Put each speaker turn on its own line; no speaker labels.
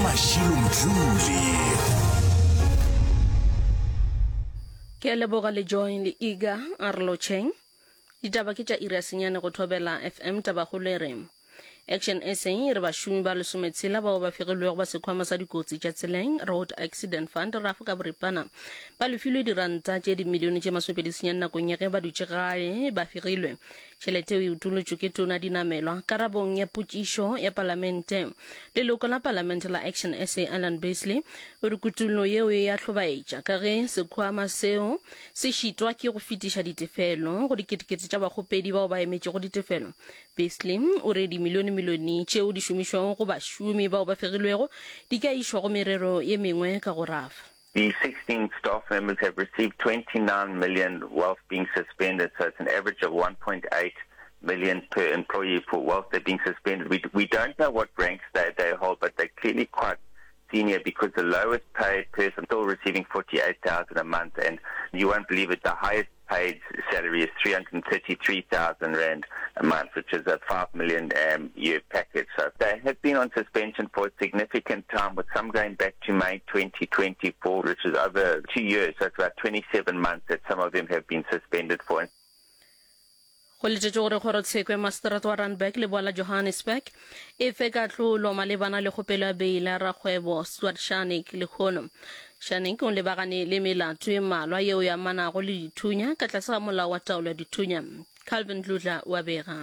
Mashilo Mdluli.
Ke a leboga le Joy le Iga a re lotšheng. Ditaba ke tša iri ya senyane go Thobela FM Tabakgolo e re Action SA e re bašomi ba lesometshela bao ba fegilwego ba sekhwama sa dikotsi tša tseleng Road Accident Fund RAF ka boripana ba lefilwe diranta tše dimilione tše masomepedi senyane nakong ya ge ba dutše gae ba fegilwe. Tšhelete eo e utolotšwe ke Tona Dinamelwa karabong ya potšišo ya palamente. Leloko la palamente la Action SA Alan Beasley o re kutollo yeo e a hlobaetša ka ge sekhwama seo se šitwa ke go fetiša ditefelo go diketekete tša bakgopedi bao ba emetšego ditefelo. Beasley o re dimilionemilione tšeo di šomišwago go bašomi bao ba fegilwego di ka išwa go merero ye mengwe ka go rafa.
The 16 staff members have received 29 million whilst being suspended, so it's an average of 1.8 million per employee for whilst they're being suspended. We, we don't know what ranks they, they hold, but they're clearly quite senior because the lowest paid person still receiving 48,000 a month and you won't believe it, the highest paid salary is 333,000 rand a month, which is a 5 million um, year package. So they have been on suspension for a significant time, with some going back to May 2024, which is over two years. So it's about 27 months that some of them have been suspended for.
Go letetšwe gore kgorotsheko ya maseterata wa Randburg leboa la Johannesburg e fe kahlolo malebana le kgopelo ya beile ya rakgwebo Stuart Scharnick lehono. Scharnick o lebagane le melato e mmalwa yeo e amanago le dithunya ka tlase ga molao wa taolo ya dithunya. Calvin Dludla o a bega.